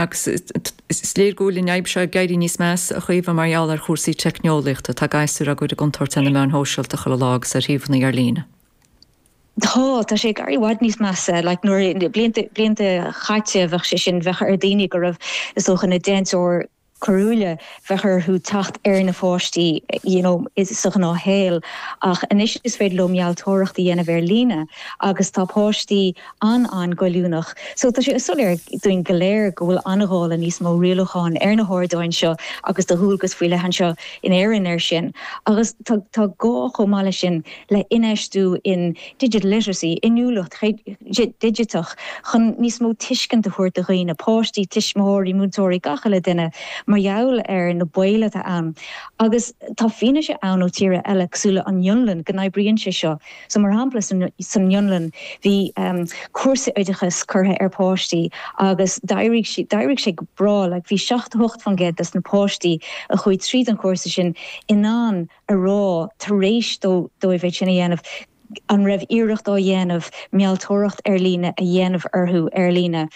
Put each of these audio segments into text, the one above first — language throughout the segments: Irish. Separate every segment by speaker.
Speaker 1: Agus is léir go bhfuil an fhadhb seo ag éirí níos measa, a Chaoimhe, mar gheall ar chúrsaí teicneolaíochta. Tá gasúir á gcur i gcontúirt ar na meáin shóisialta chuile lá agus ar shuíomhanna ar líne.
Speaker 2: Tá, tá sé ag éirí i bhfad níos measa. Like nuair, blianta, blianta chaite bheadh sé sin, bheadh ar daoine go raibh, is dócha, ina déantóir coiriúla, bheadh orthu teacht ar na pháistí, you know, sa ghnáthshaol. Ach anois is féidir leo mealltóireacht a dhéanamh ar líne agus tá páistí an-an-ghoilliúnach. So tá sé soiléir dúinn go léir go bhfuil an-ghá le níos mó rialúcháin ar na hardáin seo agus tá dualgas faoi leith anseo in Éirinn air sin. Agus tá tá gá chomh maith leis sin le infheistiú in digital literacy, inniúlacht dhigiteach, chun níos mó tuiscint a thabhairt do dhaoine, páistí, tuismitheoirí, múinteoirí, gach uile duine, mar gheall ar na baoil atá ann. Agus tá fianaise ann ó tíortha eile, cosúil le an Fhionlainn, go n-oibríonn sé seo. So mar shampla san Fhionlainn bhí cúrsa oideachais curtha ar páistí agus d'éirigh sé, d'éirigh sé go breá, like bhí 78% des na páistí a chuaigh tríd an chúrsa sin in ann a rá tar éis dóibh é sin a dhéanamh an raibh iarracht á dhéanamh mealltóireacht ar líne a dhéanamh orthu ar líne.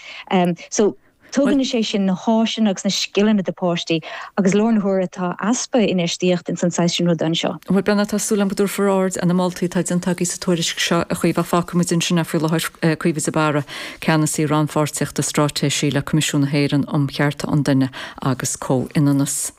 Speaker 2: So tugann sé sin na háiseanna agus na scileanna do páistí agus i láthair na huaire tá easpa infheistíocht ins an saghas sin ruda anseo.
Speaker 1: Bhuel, Brenna, tá súil agam go dtabharfar aird ar na moltaí atá déanta agaibh sa tuairisc seo, a Chaoimhe, ach fágfaidh muid ansin é faoi láthair. Caoimhe de Barra, Ceannasaí Rannpháirtíochta Straitéisí le Coimisiún na hÉireann um Chearta an Duine agus Comhionannas.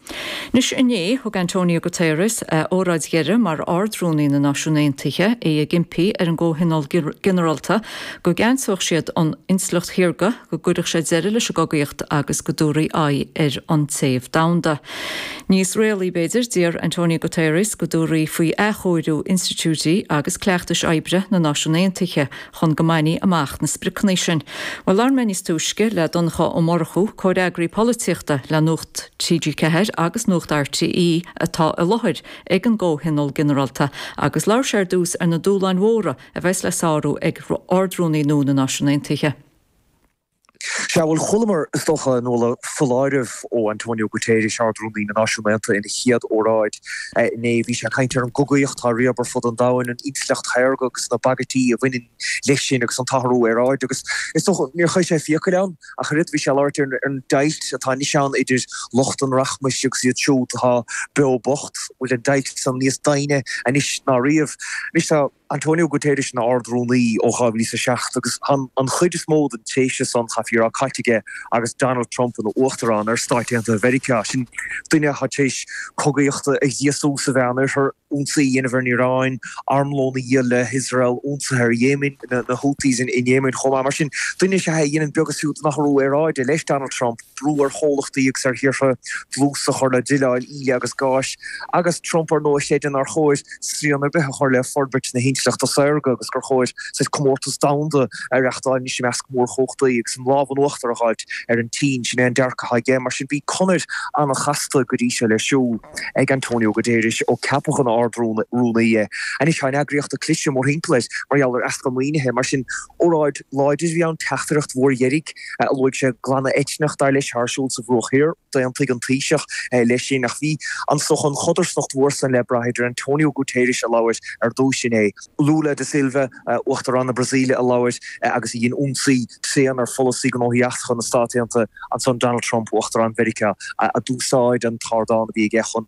Speaker 1: Anois, inné, thug Antonio Guterres a óráid dheiridh mar Ard-Rúnaí na Náisiún Aontaithe, é ag impí ar an gComhthionól Ginearálta go gceansódh siad an intleacht shaorga, go gcuirfeadh sé deireadh leis an gcogaíocht agus go dtabharfaí aghaidh ar an téamh domhanda. Níos réalaí, b'fhéidir, d'iarr Antonio Guterres go dtabharfaí faoi athchóiriú institiúidí agus cleachtais oibre na Náisiún Aontaithe chun go mbainfí amach na spriocanna sin. Bhuel, labhair mé níos túisce le Donncha Ó Murchú, comhfhreagraí polaitíochta le Nuacht TG4 agus Nuacht RTÉ atá i láthair ag an gComhthionól Ginearálta agus labhair sé ar dtús ar na dúshláin mhóra a bheas le sárú ag Ard-Rúnaí nua na Náisiún Aontaithe.
Speaker 3: Sea, bhuel, chualamar, is dócha, a Nuala, foláireamh ó Antonio Guterres, Ard-Rúnaí na Náisiún Aontaithe, ina chéad óráid inné. Bhí sé ag caint ar an gcogaíocht atá á riabadh ar fud an domhain, an intleacht shaorga agus na bagairtí a bhaineann leis sin agus an t-athrú aeráide. Agus is dócha, níor chuir sé fiacail ann ach oiread. Bhí sé ag labhairt ar an deighilt atá anois ann idir lucht an rachmais agus iad siúd atá beo bocht. Bhfuil an deighilt san níos doimhne anois ná riamh? Anois tá. Antonio Guterres ina Ard-Rúnaí ó 2007 agus tá an chuid is mó den tréimhse san, chaithfí a rá, caite aige agus Donald Trump ina Uachtarán ar Stáit Aontaithe Mheiriceá. Sin duine atá tar éis cogaíocht a ghríosú sa Mheánoirthear, ionsaí a dhéanamh ar an Iaráin, armlón a dhíol le hIosrael, ionsaithe ar Yemen, na Houthis in Yemen chomh maith. Mar sin, duine is ea é a dhéanann beag is fiú den athrú aeráide leis Donald Trump. brú ar chomhlachtaí agus ar thíortha dlús a chur le druileáil íle agus gáis, agus Trump, ar ndóigh, a chreideann nár chóir srian ar bith a chur le forbairt na hintleachta saorga agus gur chóir saghas comórtas domhanda a reachtáil anois i measc mórchumhachtaí agus an lámh in uachtar a dh'fháilt ar an tSín. Sin é an dearcadh atá aige. Mar sin, bhí conair an-chasta go dtí seo le siúl ag Antonio Guterres ó ceapadh ina Ard-Rúnaí é. Anois tá an eagraíocht ag cliseadh mórthimpeall air mar gheall ar easpa maoinithe. Mar sin, óráid láidir a bhí ann, teachtaireacht mhór dheiridh. Luaigh sé glanadh eitneach, dar leis, atá ar siúl sa Bhruach Thiar. D'aontaigh an Taoiseach leis sin ach bhí an is dócha an chodarsnacht mhór san le brath idir Antonio Guterres a labhair ar dtús inné, Lula da Silva, Uachtarán na Brasaíle a labhair agus a dhein ionsaí tréan ar pholasaí gnóthaí eachtracha na Stát Aontaithe, ansan Donald Trump, Uachtarán Mheiriceá, a d'úsáid an t-ardán a bhí aige chun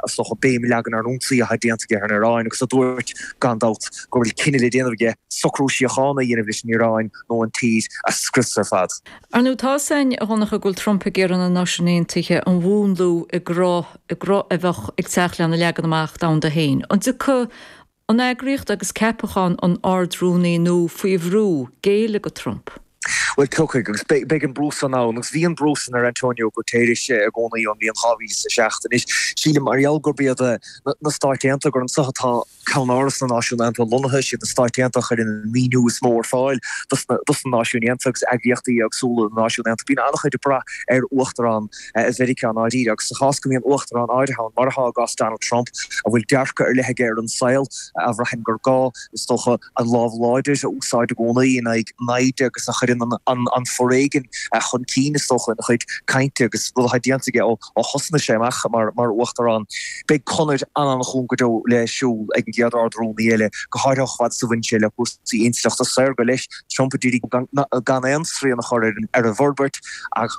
Speaker 3: is dócha béim a leagan ar an ionsaí atá déanta aige ar an Iaráin agus a dúirt gan dabht go bhfuil cinneadh le déanamh aige socrú síochána a dhéanamh leis an Iaráin nó an tír a scrios ar fad.
Speaker 1: Ar ndóigh, tá 'fhios a'inn, a Dhonncha, go bhfuil Trump ag iarraidh na Náisiúin Aontaithe a mhúnlú i gcruth, i gcruth a bheadh ag teacht lena leagan amach domhanda féin. An dtiocfaidh an eagraíocht agus ceapachán an Ard-Rúnaí nua faoi bhrú géilleadh do Trump?
Speaker 3: Bhuel, tiocfaidh, agus beidh an brú san ann, agus bhí an brú san ar Antonio Guterres i gcónaí ón mbliain 2007. Anois, sílim, mar gheall gurb iad na Stáit Aontaithe, gur anso atá Ceannáras na Náisiún Aontaithe lonnaithe, is iad na Stáit Aontaithe a chuireann an maoiniú is mó ar fáil dos na Náisiúin Aontaithe agus eagraíochtaí éagsúla na Náisiún Aontaithe. Bíonn an-chuid ag brath ar Uachtarán Mheiriceá i ndáiríre agus sa chás go mbíonn Uachtarán áirithe ann, mar atá i gcás Donald Trump, a bhfuil dearcadh ar leith aige ar an saol, a bhraitheann gur gá, is dócha, an lámh láidir a úsáid i gcónaí in aghaidh naimhde agus a chuireann an foréigean chun cinn, is dócha, ina chuid cainte agus rud atá déanta aige ó Ó thosnaigh sé amach mar Uachtarán, beidh conair an-an-chúng go deo le siúl ag an gcéad Ard-Rúnaí eile, go háirithe chomh fada is a bhaineann sé le cúrsaí intleachta saorga. Leis, Trump a d'iarraidh gan aon srian a chur ar an bhforbairt ach.